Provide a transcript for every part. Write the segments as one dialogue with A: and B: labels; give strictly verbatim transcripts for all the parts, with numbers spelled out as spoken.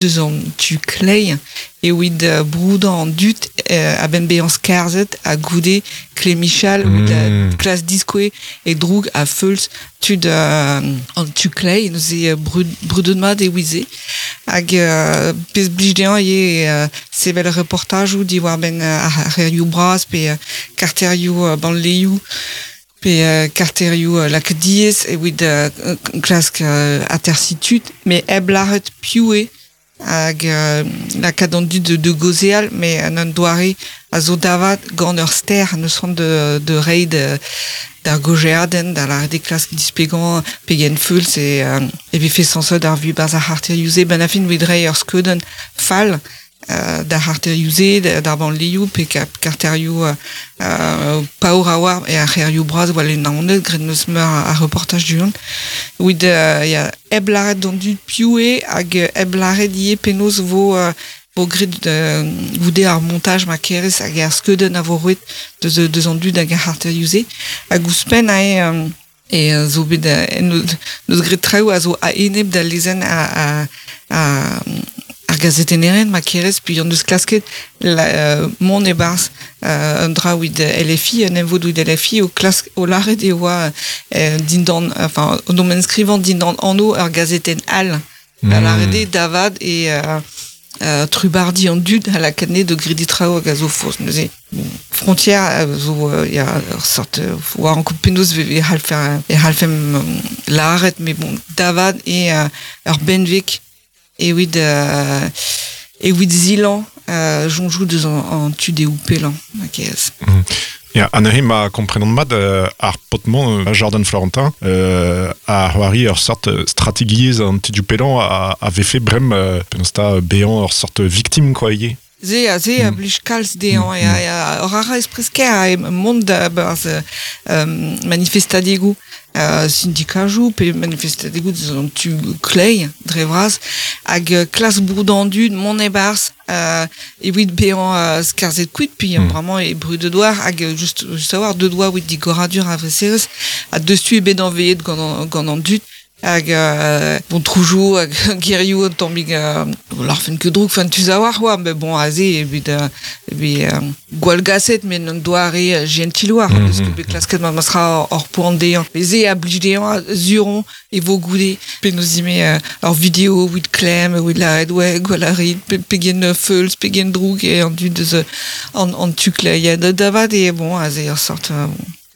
A: Deus an tu klei evit uh, broudañ an dud uh, a-benn bezañ skarzhet ha goude Clémichal mm. Oud uh, klas diskoe e droug a feulz tud uh, an tu klei neuze brud, brudet mat e ouize hag uh, pezh blij dezhañ eo uh, sevel reportajoù diwar-benn uh, ar c'hêrioù bras pe uh, karterioù uh, banleioù pe uh, karterioù uh, lakaet diaes evit uh, klask uh, atersiñ tud met hep lâret piv eo hag euh, lakaat an dud de, de gaozeal, met an un doare a zo davat gant ur ster neus c'hoant de, de reiñ d'ar gaozeadenn, da lâret eo klask displegañ pegen feuls e, euh, e vefe sañset ar vuhez 'barzh ar c'harterioù-se ben a fin evit reiñ ur skeudenn fall euh, d'ar c'harterioù-se, d'ar banlieoù pe karterioù euh, paour a oar e ar c'hêrioù bras war le Naoned, graet neus meur a reportaj du-hont. Evit euh, ya, hep lâret d'an dud piv eo hag hep lâret ivez penaos vo euh, vo graet euh, goude ar montaj ma kerez hag ar skeudenn a vo roet deus, deus an dud hag ar c'harterioù-se. Hag ouzhpenn ae euh, e zo bet euh, neus graet traoù a zo a-enep da lezenn a, a, a ar gazetennerien ma kerez puis on deus klasket la, euh, mont e-barzh euh, un dra evit L F I, un emvod evit L F I o klask o lâret e oa euh, dindan, enfin, o domaine skrivañ dindan anv ur gazetenn all. Mm. Da lâret eo davad e euh, euh, trubardi an dud a lakaat de gredi traoù hag a zo faos. Neuze, bon, frontière a zo euh, ya ur sort euh, oa an penaos e c'hallfe e c'hallfemp lâret, mais bon, davad e euh, ur benveg evit euh, evit zilañ euh, soñjoù deus an, an tu dehoù pellañ, ma kerez.
B: Mm. Ya, ha neuze ma komprenan mat euh, ar paotr-mañ euh, Jordan Florentin euh, a c'hoari ur sort strategiezh an tu pellañ a, a vefe brem euh, penaos ta bezañ ur sort victime quoi ivez.
A: Se a se a blij kalz dezhañ mm. ya, ya, ur ara espresker a mont da barzh euh, manifestadegoù euh, syndikajoù pe manifestadegoù deus an tu klei dre vras hag euh, klas broudañ dud mont e-barzh euh, evit bezañ euh, skarzhet kuit puis mm. Vraiment e brudet war hag just, just a-walc'h deut oa evit digoradur ar vreserezh ha deus tu ebet anveet gant an, gant an dud hag euh, bon troujoù hag gerioù un tammig euh, larfen ket droug fan tu a-walc'h oa mais bon aze evit euh, evit euh, gwall gaset met un doare gentil war mm -hmm. Deus ket bet klasket ma sera hor poan dezhañ met se a blij dezhañ zuron e vo goude penaos ime euh, ur video evit klemm evit lâret ouais gwall a rit pe, pegen feuls pegen droug e an dud deus an, an tu klei ya da davat e bon aze ur sort euh,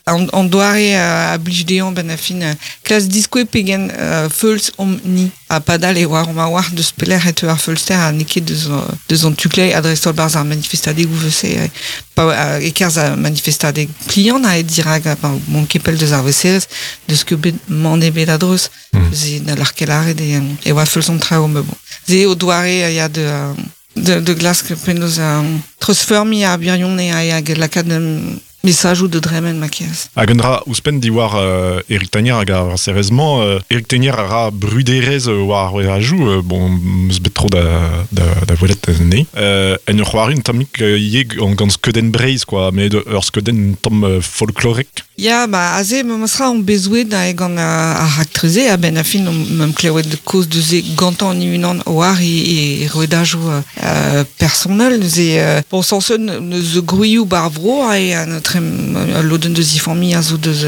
A: An, an doare uh, a blij dezhañ ben a fin uh, klas diskoe pegen uh, feuls omp ni ha padal e oar ma oar deus pelec'h e teu ar feulster ha n'eo ket deus, deus an tu klei ha dreist-holl barzh ar manifestadegoù vese uh, pa uh, e-kerzh ar manifestadeg pliant a e dirak uh, mont ket pell deus ar veserez deus ket bet mann ebet a-dreuz mm. Ze na lâr ket lâret e, e oa feuls an traoù mais bon ze o doare uh, ya de uh, de, de glask penaos um, treuzfeurmiñ ar birion e hag lakaat um, mesajoù de dremen ma kerez.
B: Hag un dra ouzhpenn diwar euh, Eric Tegnér hag ar serrezmañ, euh, Eric Tegnér a ra bruderezh war ar rouedajoù, euh, bon, meus bet tro da, da, da welet anezhe. Euh, en ur c'hoari un tammig euh, ivez gant, gant skeudenn Breizh, quoi, met ur skeudenn un tamm euh, folklorek.
A: Ya, ba, aze, ma sera on bezouet da gant ar raktreze, a-benn a fin on meum klevet kaoz deus e gantañ an unan war e, e rouedajoù euh, personnel, neuze, euh, bon, sañset neus gwrioù bar vro, ha an trem lodenn deus i familh a zo deus,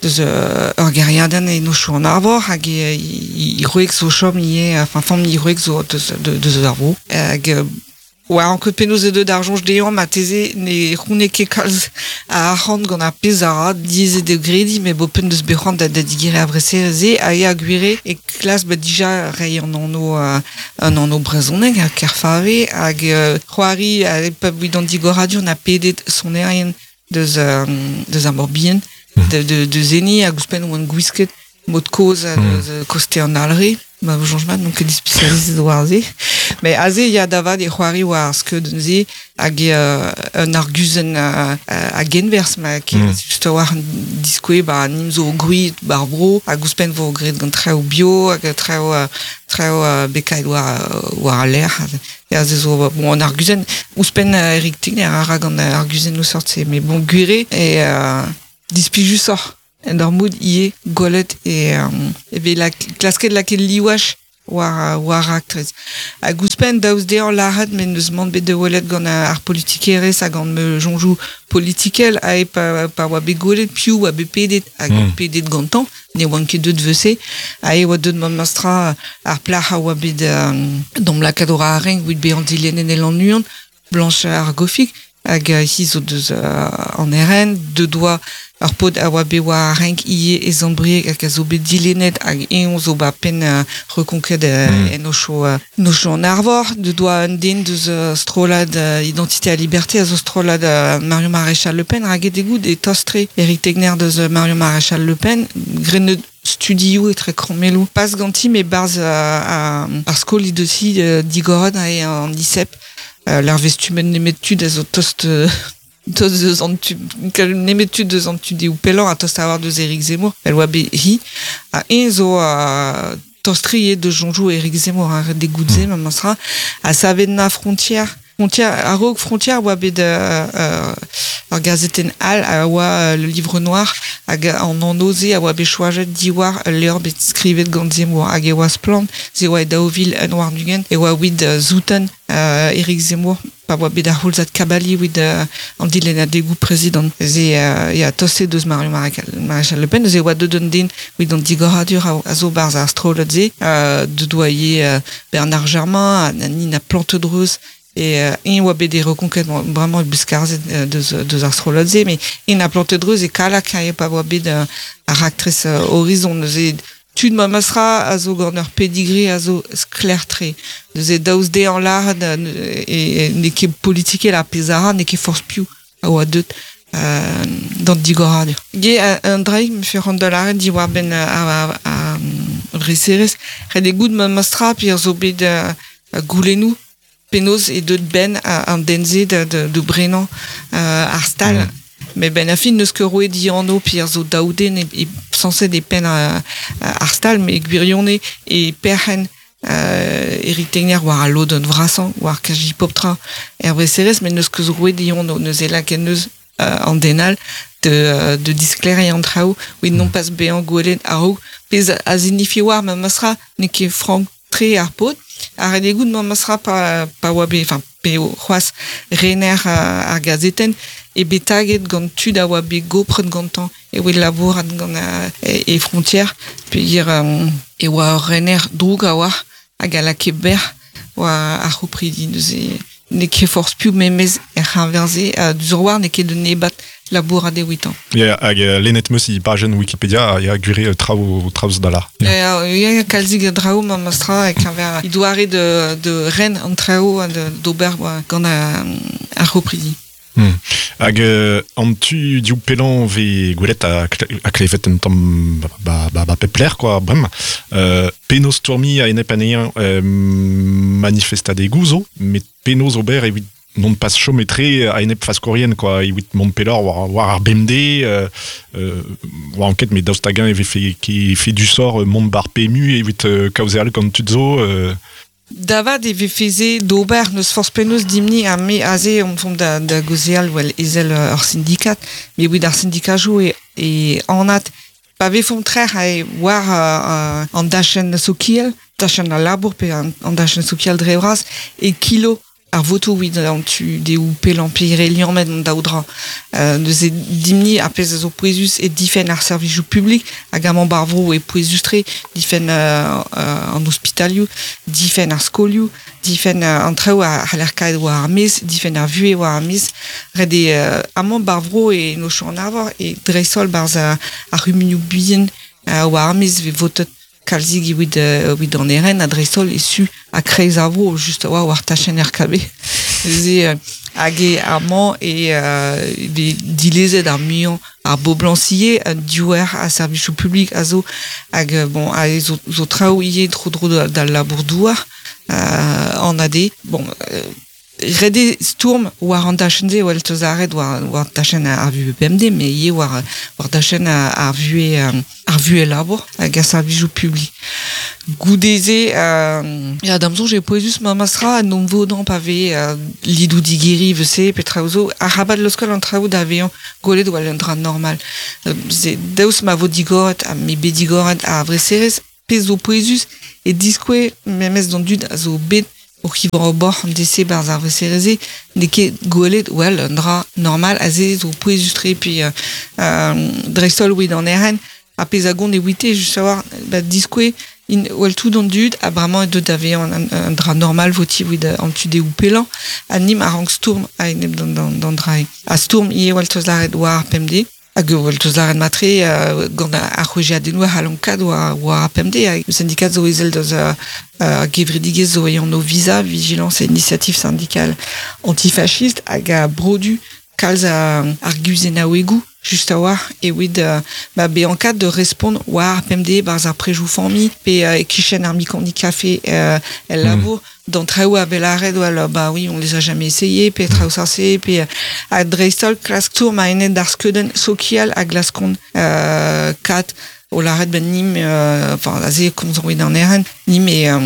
A: deus ur gêriadenn e nochoù an arvor, hag e, i, i roeg zo chom ivez, enfin, familh i roeg zo deus, deus ar vro. Hag, oa an ket penaos e deut ar soñj dezhañ ma teze ne c'houne ket kalz a arc'hant gant ar pezh a ra diaes eo grediñ met bo penn deus bet c'hoant da, da digeriñ ar vreserezh-se ha eo gwire e klas bet dija reiñ an anv uh, an anv brezhoneg ha Kerfave hag uh, c'hoari a pa evit an digoradur na pedet sonerien deus, euh, deus ar Morbihan mm. de, de, de zeni hag ouzhpenn oant gwisket mod kozh mm. deus koste an Alre ma soñj mat n'on ket spécialisé war se mais aze ya davad e c'hoari war ar skeudenn se hag euh, un arguzenn uh, a genwerzh ma mm. just war an diskoe ba nim zo gwri bar bro hag ouzhpenn vo graet gant traoù bio hag traoù uh, traoù uh, bekaet war, war al lec'h ya se zo bon an arguzenn ouzhpenn uh, Eric Tegnér a ra gant arguzennoù sort-se mais bon gwire e uh, displijusoc'h en ur mod ivez gwelet e euh, e vez la klasket lakaet liwach war, war raktres. Hag ouzhpenn daoust dezhañ lâret met n'eus mann bet da welet gant ar politikerezh hag gant ma soñjoù politikel ha e pa, pa oa bet gwelet piv oa bet pedet hag mm. pedet gantañ, ne oan ket deut vese, ha e oa deut memestra ar plac'h a oa bet euh, d'am lakaat war ar renk evit bezañ dilennet e Lannuon, Blanche ar Gofig, hag hi zo deus uh, an R N, deut oa ar paotr a oa bet war ar renk ivez e Sant-Brieg hag a zo bet dilennet hag eñ zo ba penn uh, reconquête uh, mm. en ocho uh, nocho an Arvor, deut oa un den deus uh, strollad uh, Identité à Liberté a zo strollad uh, Marion Maréchal Le Pen, raget egout e tostre Eric Tegner deus uh, Marion Maréchal Le Pen, grenet studioù etre krommelloù. Pas ganti me barz uh, a, ar skol he deus hi uh, digoret e an I S E P uh, l'ar vestumen nemet tud a zo tost uh, tost deus an tu nemet tud deus an tu deoù pellañ a tost a war deus Éric Zemmour el oa bet hi a eñ zo uh, tostrier de jonjou Éric Zemmour ar de goudze mm. memestra a savet na frontière frontière a-raok frontière oa bet euh, euh, ar gazetenn all a oa euh, le livre noir hag an annoze a oa bet choajet diwar levr bet skrivet gant Zemmour hag e oa splann ze oa e daou vil un war nugen e oa wid uh, zouten euh, Éric Zemmour pa oa bet ar c'houlzad kabali wid uh, an dilennadegoù prezidant ze uh, ya toste deus Marion Maréchal Le Pen ze oa deut un den wid an digoradur a, a zo barz ar strollad ze euh, deut oa ivez uh, Bernard Germain a Nina Plantedreuz et euh, eñ oa bet des reconquêtes vraiment beskarzet euh, deus, deus ar strollad ze mais eñ a Plantedreuz e kalak a pa oa bet euh, ar raktres euh, Horizon neuze tud memestra a zo gant ur pedigree a zo sklaer-tre. Neuze daoust dezhañ lâret e, e n'eo ket politikel ar pezh a ra, n'eo ket forzh piv a oa deut euh, d'an digoradur. Ge un draig me fe c'hoant da lâret diwar-benn ar, ar, ar vreserezh. Ret eo goût memestra pe ar zo bet uh, goulennoù penaos e deut ben an den-se de, de, de brenañ uh, ar stal. Mm. Mais ben a fin n'eus ket roet dianv pe ar zo daou den e, e sañset e penn uh, ar stal, met gwirionez e perc'henn uh, Eric Tegner war al lodenn vrasañ, war kaji pop-tra er vreserezh, met n'eus ket roet dianv, neuze lakaet neus uh, an den all de, de diskleriañ an traoù, evit non pas bezañ gwelet a-raok, pezh a signifie war memestra n'eo ket frank tre ar paotr. Ar ret eo goût memestra pa, pa oa bet, enfin, pe c'hoazh rener uh, ar gazetenn, e bet taget gant tud a oa bet gopret gantañ e oa labourat gant uh, e, e frontière, peogwir um, e oa ur rener droug a oa hag a lakae berr oa ar c'hopridi neuze n'eo ket forzh piv memez er c'heñver-se uh, diouzh war n'eo ket d'un ebat labourat evitañ.
B: Ya, hag uh, lennet 'meus e pajenn Wikipedia ya gwir eo traoù traoù da lar.
A: Ya, ya kalzik a draoù memestra e keñver doare de, de ren an traoù d'ober gant ar c'hopridi.
B: Hmm. Hag euh, an tu diou pellañ vez gwelet a, a klevet un tamm ba, ba, ba pep lec'h quoi bremañ. Euh, penaos stourmiñ a-enep anezhañ euh, manifestadegoù zo, met penaos ober evit non pas chom etre a-enep faskourien quoi, evit mont pelloc'h war, war ar B M D, euh, euh, war enquête met daoust hag-eñ e vefe ki fait du sort mont bar P M U evit euh, kaozeal gant tud zo. Euh,
A: Davad e vefe d'ober neus forzh penaos dimni ha me aze on fomp da, da gaozeal well ezel ur syndikat, met evit ar syndikajoù e, e anat pa vefomp trec'h a e war uh, an dachenn sokial, dachenn al labour pe an, an dachenn sokial dre vras, e kilo ar votoù evit an tu deoù pellañ pe re liammet an daou dra. Euh, neuze dimni ar pezh a zo pouezus e difenn ar servijoù publik hag amañ bar vro e pouezus-tre difenn euh, euh, an ospitalioù, difenn ar skolioù, difenn euh, an traoù a c'haller kaet war ar maez, difenn ar vuhez war ar maez. Ret eo euh, amañ bar vro e nochoù an arvor e dreist-holl barzh ar, ar c'humunioù bihan euh, war ar maez vez votet kalzik evit, euh, evit an R N a dreist-holl e su a kreiz ar vro, just a oa war tachenn R K B. Neuze euh, hag e amañ e euh, vez dilezet ar muiañ ar boblañsier, un diouer a servijoù publik a zo hag bon a zo, zo traoù ivez tro-dro da, da labour-douar euh, an A D. Bon, euh, ret eo stourm war an dachenn-se well teus aret war, war dachenn ar vuhez P M D, met ivez war, war dachenn ar vuhez, ar vuhez labour hag ar servijoù publik. Goude-se, euh, ya da'm soñj eo pouezus memestra en hon vodañ pa vez euh, lidoù digeriñ vese pe traoù zo, arabat laoskal an traoù da vezañ gwelet war un dra normal. Euh, se daoust ma vo digoret ha me bet digoret ar vreserezh, pezh zo pouezus e diskoe memes d'an dud a zo bet o c'hivañ o bor an dese barz ar vesereze n'eo ket gwelet well un dra normal a ze zo pouezus tre puis euh, euh, dreistol oe d'an eren a pezh a gont e ouite just savoir ba diskoe in well tout an dud a bremañ e deut ave an, an, an dra normal voti oe an tude ou pelan a nim a rank stourm a enep d'an, d'an, d'an dra a stourm ie well teus laret war ar pemde hag well teus laret matre euh, gant ar c'hwejiadennoù a c'hallon kad war, war ar pemde hag syndikat zo ezel deus euh, euh, gevredigezh zo an o visa vigilance et initiative syndicale antifasciste hag a brodu kalz a ar guzenaouegoù just a war e oed euh, ba be en kad de respond war ar pemde barz ar prejou famille pe euh, e kichen ar mikandi café euh, el labour mm. d'an traoù a vel well, bah oui on les a jamais essayé pe traoù sarse pe a dreistol klask tour ma enet d'ar skeuden sokial a glaskont euh, kat o laret ben nim euh, enfin aze komz oe d'an eren nim e euh,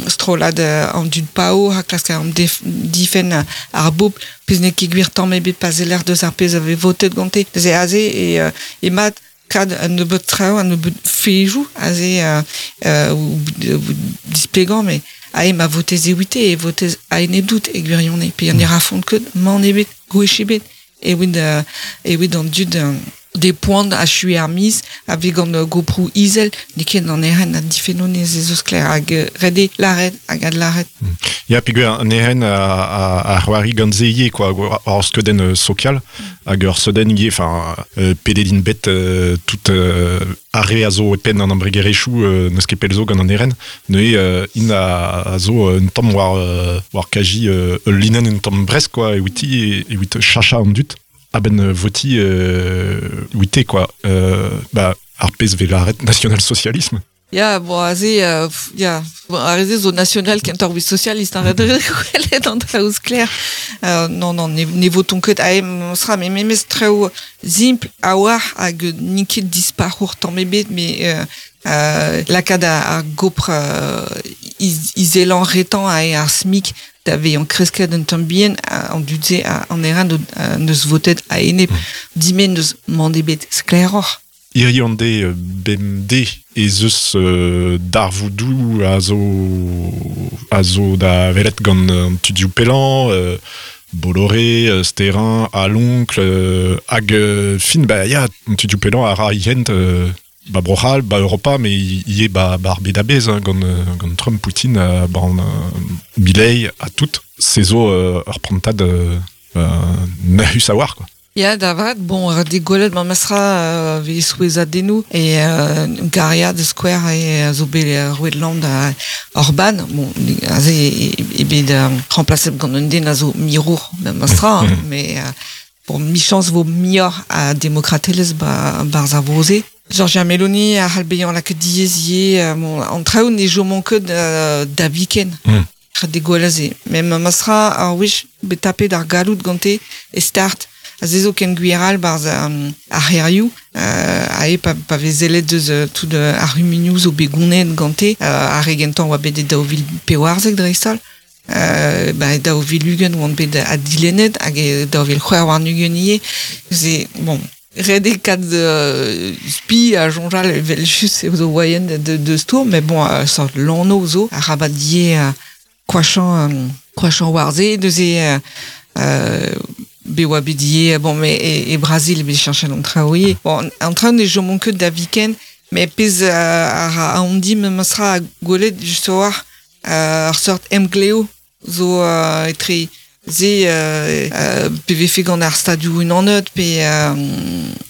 A: strolad euh, an dud pao ha klask an def, difen ar bobl pez n'eo ket gwir tamm ebet pa zeller deus ar pezh ave votet gante ze aze e, euh, e mat kad an nebeut traoù an nebeut fejou aze euh, euh, ou, ou displegañ mais ae ma votez e ouite e votez a enep dout e gwirione pe an era font ket man ebet gwech ebet e oed euh, e oed an dud euh, des points a chui ar miz ave gant euh, goprou izel n'eo ket an eren a difenno ne ze zo sklaer hag euh, rede laret hag ad laret.
B: Mm. Ya, pegwir an eren a, a, a c'hoari gant ze ivez, quoi, ar skeudenn euh, sokial, hag ur skeudenn ivez, enfin, euh, pedet bet euh, tout euh, ar re a zo e penn an embregerezhioù euh, n'eus ket pell zo gant an eren, neuze euh, int a, a zo un tamm war, euh, war kaji euh, ul linenn un tamm bresk, quoi, e outi, e ouit chacha an dud. A-benn voti euh, ouite, quoi. Euh, ba, ar pezh vel laret national-socialisme.
A: Ya, bon, aze, euh, ya, bon, ar ze zo national kentoc'h evit socialiste, hein, ret gwelet an traoù sklaer. Euh, non, non, ne, ne voton ket ae sera, mais memes traoù simpl a war hag n'int ket disparour tamm ebet, mais euh, euh, lakaat ar, ar gopr euh, iz, izelan retan ae ar SMIC da vezañ kresket un tamm bihan an dud-se an eran neus votet a enep dimen neus mand ebet sklaeroc'h.
B: Hiriv an de bemde ez eus euh, darvoudoù a zo a zo da welet gant an tudioù pellañ, euh, Bolloré, euh, Sterin, Alloncle, euh, hag euh, fin, ba ya, an tudioù pellañ a ra hent euh, ba Bro-C'hall, ba Europa, mais ivez ba, ba ar bed a-bezh, hein, gant, gant Trump, Poutine, euh, ba an, euh, Milei, a tout. Se zo euh, ur prantad euh, euh, nahus a war, quoi.
A: Ya, da vat, bon, ret eo gwelet ma mestra euh, vez souezhadennoù e euh, Garia de Square e a zo bet euh, roet land a Orban, bon, aze e, e bet euh, remplacet gant un den a zo mirour ma mestra, hein, mais euh, bon, michans vo muioc'h a demokratelezh ba barz ar vro-se. Giorgia Meloni a c'hall bezañ lakaet diaes ivez, euh, bon, an traoù ne chomont ket euh, da viken.
B: Mm.
A: Ret eo gwelet se. Mais ma mestra ar wech bet tapet ar galloud gante e start a ze zo ken gwir all barz um, ar c'hêrioù, euh, ae pa, pa vez sellet deus euh, tout euh, ar c'humunioù zo bet gounezet gante, euh, ar re gentañ oa bet e daou vil pevarzek dreist-holl, euh, ba, e daou vil ugent oant bet addilennet hag e daou vil c'hwec'h warn-ugent ivez. Se, bon, ret eo kat euh, spi a soñjal evel just eo zo moaien de, de, de stourm, mais bon, euh, sort lanv zo, arabat ivez euh, koachañ, euh, koachañ war se, neuze euh, euh, bet oa bet ivez, bon, mais e, e Brazil bet cheñchet an traoù ivez. Bon, an traoù ne chomont ket da viken, mais pezh euh, a ra aon din memestra a gwelet just war euh, ar seurt emglev zo euh, etre ze euh, euh, pe vefe gant ar stadioù unanet pe euh,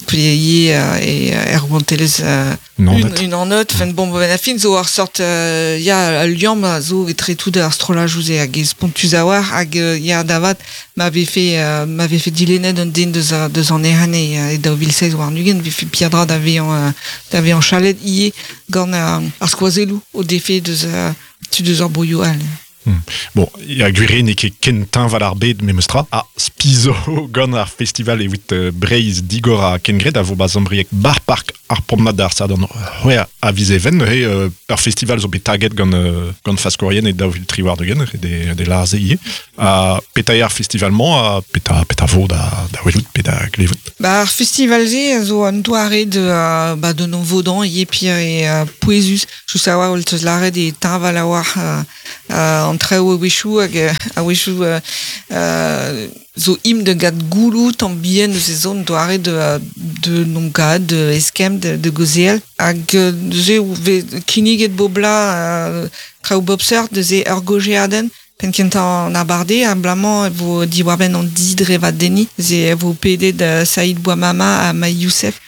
A: pe ivez euh, e er rouantelezh euh,
B: Unanet.
A: un, unanet, enfin bon, ben, a fin zo ar sort euh, ya al liamm a zo etre tout ar strollajoù ze hag e spontus a war hag euh, ya da vat ma vefe euh, ma vefe dilennet un den deus, a, deus an eren e, e daou vil seizh warn-ugent vefe peadra da vezañ euh, da vezañ chalet ivez gant euh, ar skoazelloù o defe deus euh, tud deus ar broioù all.
B: Hmm. Bon, ya gwir n'eo ket ken teñval ar bed memestra a spizo gant ar festival evit uh, Breizh digor ha kengred a vo ba Zambrieg bar park ar promenade d'ar Sadorn c'hwec'h a viz even he uh, ur festival zo bet taget gant uh, gant faskourien e daou vil tri war-ugent de, de larze ivez a peta ar festival-mañ a peta, peta vo da, da welout pe da glevout.
A: Ba ar festival-se a zo an doare de, uh, ba de non vodan ivez pir e uh, pouezus just a oa teus lâret e teñval a oa uh, uh, an traoù a-wechoù hag a-wechoù uh, uh, zo im de gad goulou tamm bihan eus e zon doare de, de non gad, de eskemm, de, de gozeal. Hag neuze vez kinniget bobla uh, traoù bop seurt neuze ur gojeadenn penn kentañ an abardaez abalamour e vo diwar-benn an didrevadenniñ ze e vo pedet uh, Saïd Bouamama ha Maï Youssef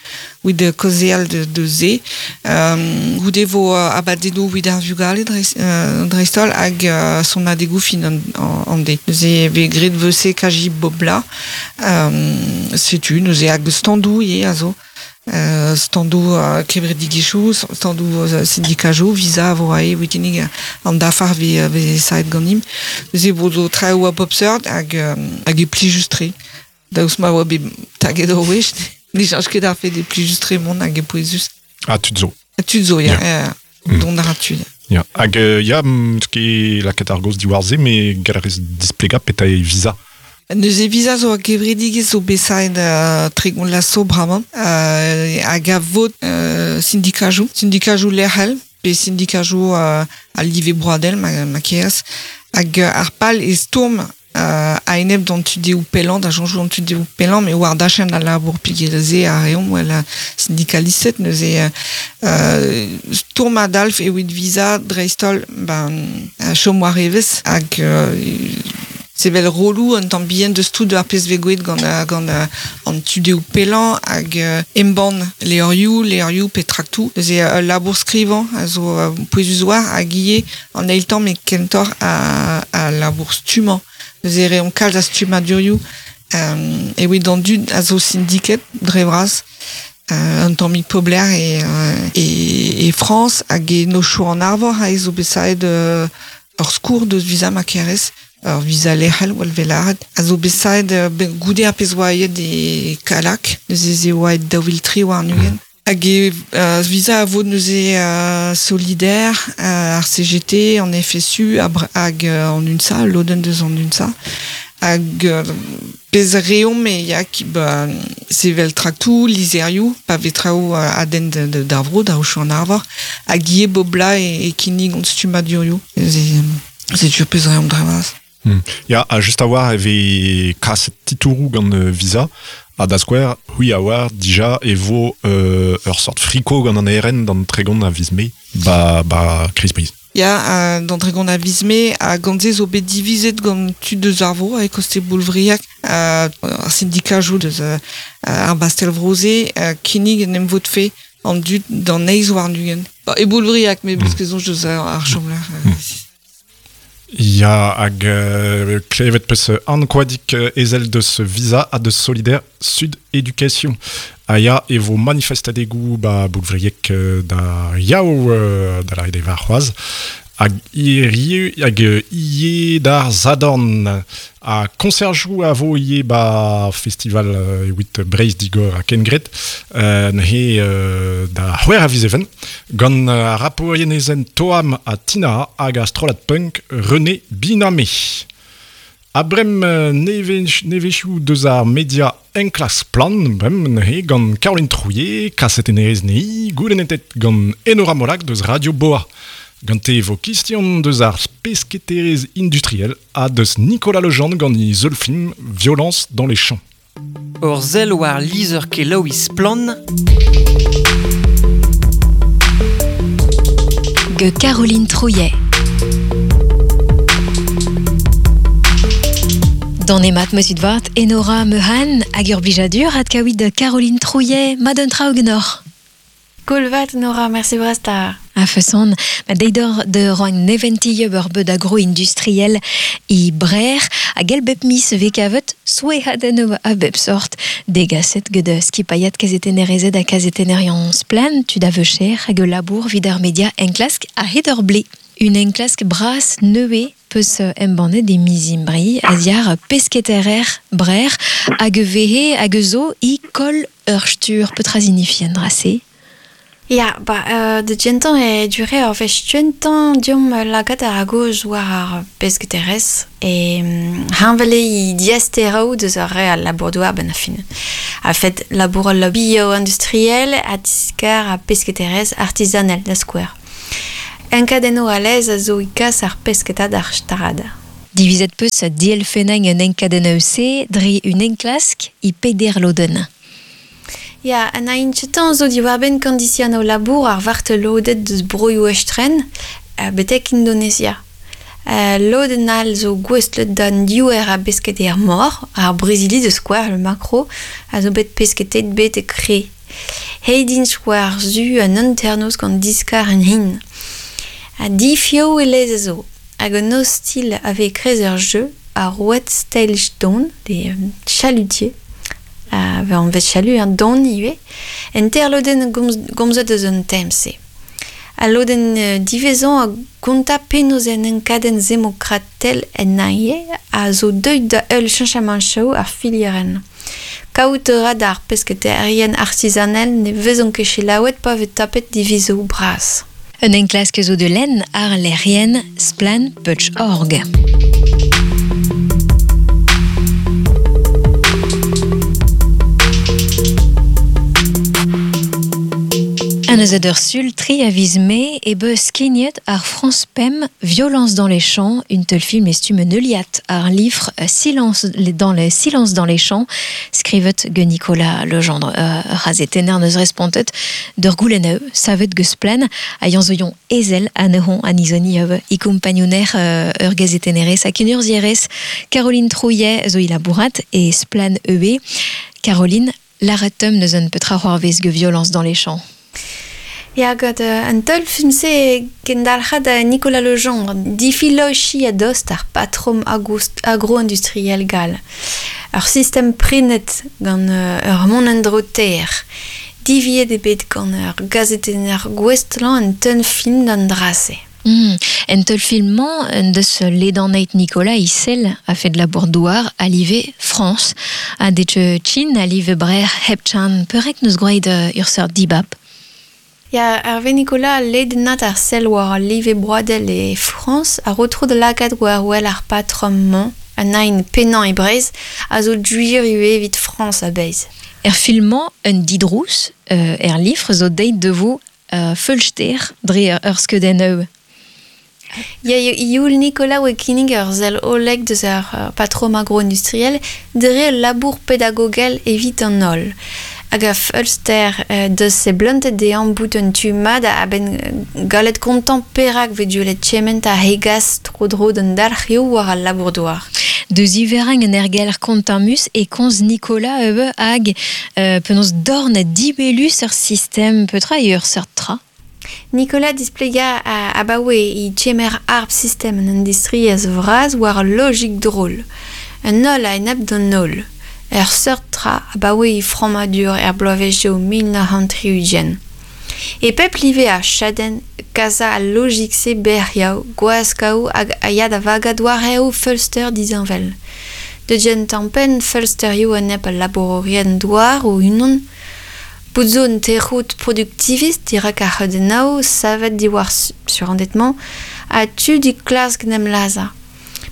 A: evit de kaozeal de, de ze. Um, goude vo uh, abadennoù evit ar vugale dreist, uh, dreist-holl hag uh, sonadegoù fin an, an, an de. Neuze vez graet vese kaji bobla. Um, setu, neuze hag standoù ivez a zo. Uh, standoù uh, kevredigezhioù, standoù uh, sindikajoù, visa a vo ae evit kinnig an dafar vez, vez saet ganimp. Neuze vo zo traoù a bop seurt hag, um, hag e plijus-tre. Daoust ma oa bet taget ur wech, ne cheñch ket ar fed e plijus-tre mont hag e pouezus.
B: Ah, tud zo.
A: Tud zo, ya. Yeah. Mm. Dont a ra tud.
B: Ya. Hag uh, ya, m'eus ket lakaet ar gaoz diwar-se, met gall a rez displegañ petra eo visa.
A: Neuze visa zo a gevredigezh zo bet saet uh, tregont la so bremañ uh, hag a vod uh, sindikajoù, sindikajoù lec'hel, pe sindikajoù uh, a live broadel ma, ma kerez, hag uh, ar pal e stourm uh, a-enep d'an tudeoù pellañ, da soñjoù an tudeoù pellañ, met war dachenn al labour peogwir a reomp wel sindikalisted neuze uh, stourm a-dalf evit visa dreist-holl ben, chom war evezh hag uh, sevel rolloù un tamm bihan deus tout ar pezh vez gwelet gant, gant an tudeoù pellañ hag uh, embann levrioù, levrioù pe traktoù. Neuze uh, labour skrivañ a zo uh, pouezus war hag ivez an eil tamm e kentoc'h a, a labour stummañ. Neuze reomp kalz a stummadurioù um, evit an dud a zo sindiket dre vras. Uh, un tammig pobler e, uh, e, e Frañs hag e nochoù an arvor a zo bet saet uh, ur skourr deus visa ma kerez. Ur visa lec'hel wal velaret. A zo bet saet uh, goude ar pezh oa aet e Kalak, neuze ze oa aet daou vil tri warn-ugent. Hag e uh, visa a vo neuze uh, solidaire, uh, ar C G T, an F S U, hag uh, an UNSA, lodenn deus an UNSA. Hag uh, pezh reomp e ya ki ba, sevel traktoù, lizherioù, pa vez traoù uh, a denn d'ar vro, da aochoù an arvor, hag ivez bobla e, e kinnig hon stummadurioù. Neuze, setu pezh reomp dre vras.
B: Hmm. Ya, ha just a war e vez kaset titouroù gant uh, Visa, ha da skouer, c'hwi a oar dija e vo uh, ur sort friko gant an R N d'an tregont a viz Mae, ba, ba Kreiz Breizh.
A: Ya, uh, d'an tregont a viz Mae, ha gant se zo bet divizet gant tud deus ar vro, e koste Boulvriag, uh, ar sindikajoù deus uh, ar Bastel-Vroze, uh, kinnig en em votfe an dud d'an eizh warn-ugent. Ba, e Boulvriag, met mm. ket soñj deus ar, ar chomlec'h. Uh, mm.
B: Ya, hag uh, klevet peus an koadik uh, ezel deus Visa ha deus Solidaire Sud Éducation. Ha ya e vo manifestadegoù ba Boulvrieg uh, da yaou uh, da la war c'hoazh. Hag hirie, hag ivez d'ar Sadorn. Ha konserjoù a vo ivez ba festival uh, evit Breizh Digor ha Kengred uh, neuze uh, da c'hwec'h a viz Even gant uh, ar rapourien ezen Toam ha Tina hag ar strollad punk René Binamé. Ha brem nevezioù deus ar media enklask Splann, brem neuze gant Caroline Trouillet, kasetennerez ne'i, goulennetet gant Enora Molac deus Radio Boa. Gante vo kistion deus ar pesketerez industriel ha deus Nicolas Legendre gant e zeul film Violence dans les champs.
C: Ur sell war lizher kelaouiñ Splann.
D: Ge Caroline Trouillet. D'an emat meus vat Enora Mehan hag ur blijadur ad kaouit de Caroline Trouillet, madon traoù genoc'h.
E: Kolvat Nora, merci brasta.
D: A façon, ma deidor de roang neventi ur beud agro-industriel i brer a gel bep mis vekavet souehadenno a bep sort degaset ged skipaiat kazetenerezed ha kazetenerion splan tud a veucher hag labour vid ar media enklask a hed ur ble. Un enklask bras neue peus embannet e mizimbri, a ziar pesketerer brer, hag vehe hag zo i kol ur stur petra zinifien drase.
E: Ya, ba, euh, de gentan e dure ur vech tuentan diom lagat ar agoz war ar pesketerez e hanvele i diasterau deus ar re al labour-douar ben a fin. A fet labour al bio-industriel a diskar a pesketerez artisanel da skouer. Enkadenno a lez a zo i kas ar pesketad ar starad.
D: Divizet peus dielfenang un enkadenno se dre un enklask i peder loden.
E: Ya, an a intchetan zo diwar-benn kondision o labour ar vartelodet deus broioù estren uh, betek Indonesia. Uh, loden al zo gouestlet d'an diouer a besket er mor, ar Brezili deus skouer le makro, a zo bet pesketet bet e kre. Heidin skouer zu an anternoz gant diskar an hin. A difio e lez a zo, hag an hostil ave krez ur jeu a rouet stelj don, des euh, chalutiers, a uh, an vet chalu an don ivez, en ter loden gomzet eus an temse. A loden uh, divezan a gonta penoz en enkadenn zemokratel en naie a zo deuet da eul chanchamanchou ar filieren. Kaout ra d'ar pesketerien artisanel ne vezon ket selaouet pa vet tapet divizo bras.
D: Un enklask zo de len ar lerien splan puch org. An eus ur sul tri a viz me e beus skignet ar France Pem Violence dans les champs, une tel film estume neuliat ar livre Silence dans les Silence dans les champs, skrivet ge Nicolas Legendre euh, razetener neus respontet d'ur gouleneu savet ge splan a yanzoion ezel a nehon a nizoni euh, i kompagnoner euh, ur gazetenerez a ken urzierez Caroline Trouillet zo ilabourat e splan E B Caroline Laratum neus un petra c'hoarvez ge Violence dans les champs.
E: Ya, gant uh, an teul film-se kendalc'had a Nicolas Legendre, difilochi a dost ar patrom agro-industriel gal. Ar sistem prenet gant uh, ur mont endro ter, diviet e bet gant ur gazetenner gouestlan an teun film d'an drase.
D: Mm. En teul film-mañ en deus ledaneit Nicolas Issel a fet la bourdouar a live France, a detche Chin a live brer hepchan perek neus groaid ur seurt dibab.
E: Ya, Hervé Nicolas ledenat ar sel war live broadel e France a retro de lagad war wel ar patrom-mañ, an ein penañ e Breiz, a zo duir ue evit France a beiz.
D: Er film-mañ un didrous, euh, er livre zo deit devo euh, feulster dre ur skeudenn eu.
E: Ya, ioul Nicolas oe kinnig ur zel oleg deus ar patrom agro-industriel dre labour pedagogel evit an holl. Hag a feulster euh, deus se bluntet de an bout un tu mad a ben galet kontant perak ve duelet tchement a hegas tro dro d'an dalc'hioù war al labour-douar.
D: Deus iverang an ergelr kontamus e konz Nicolas eube hag euh, penaos dorn dibelus ur sistem petra e ur seurt tra.
E: Nicolas displega a abaoe i tchemer arp sistem an industriez vraz war logik drôle. Un holl a enep d'an holl. Ur seurt tra abaoe i frammadur er bloavezhioù mil nav c'hant tri-ugent. E pep live a chadenn kaza al logik-se berriaou, gwaskaou hag a ya da vagad war eo feulster dizanvel. De gen tampen feulsterioù enep al labourerien douar o unan, bout zo un terrout productivist dirak ar c'heudennaou savet diwar surendettement a tu di klask nem laza.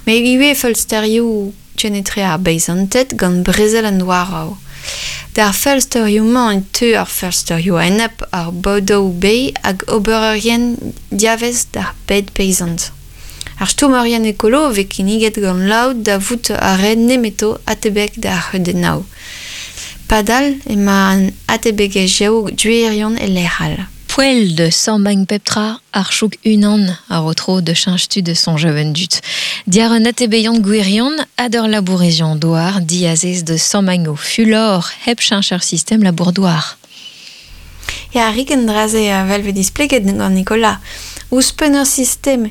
E: Me ivez feulsterioù tchenetre ar beizantet gant brezel an douarao. D'ar feulsterioù-mañ e teu ar feulsterioù a-enep ar bodoù bei hag obererien diavez d'ar bed peizant. Ar stourmerien ekolo vez kinniget gant laout da vout ar re nemeto atebek d'ar c'heudennaou. Padal ema an atebegezhioù duerion e lec'hal.
D: Poel de Sambang peptra ar chouk unan ar otro de chinchtu de son jeune dut. Diar un atebeion gwirion ador labourezion doar diazez de Sambango fulor hep chincher system labourdoar.
E: Ya rik en draze a velve displeget gant Nicolas. Ouzhpenn ur sistem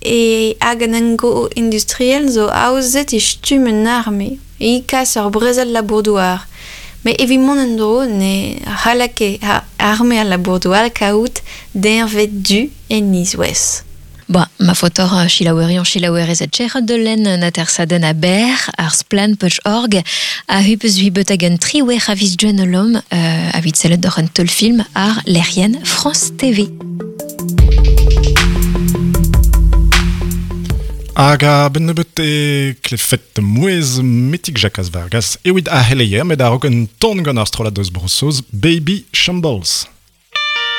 E: e hag an engo industriel zo aozet e stumm un arme e kas ur brezel labourdouar. Me evit mont en dro ne c'halla ket arme al labourdouar kaout deñved du en nizwez.
D: Ba, ma fotor chilaouerion chilaouerez a tcher de len natersaden a ber, ar splan peuch org, a hupeus huibet hag un triwer a viz duen olom, euh, a vit sellet d'or un teul film ar lerien France T V.
B: Hag a ben nebeut e klefet mouez metik Jacques Vargas ewid a heleier met a rok un ton gant ar strollad deus Brossoz Baby Shambles.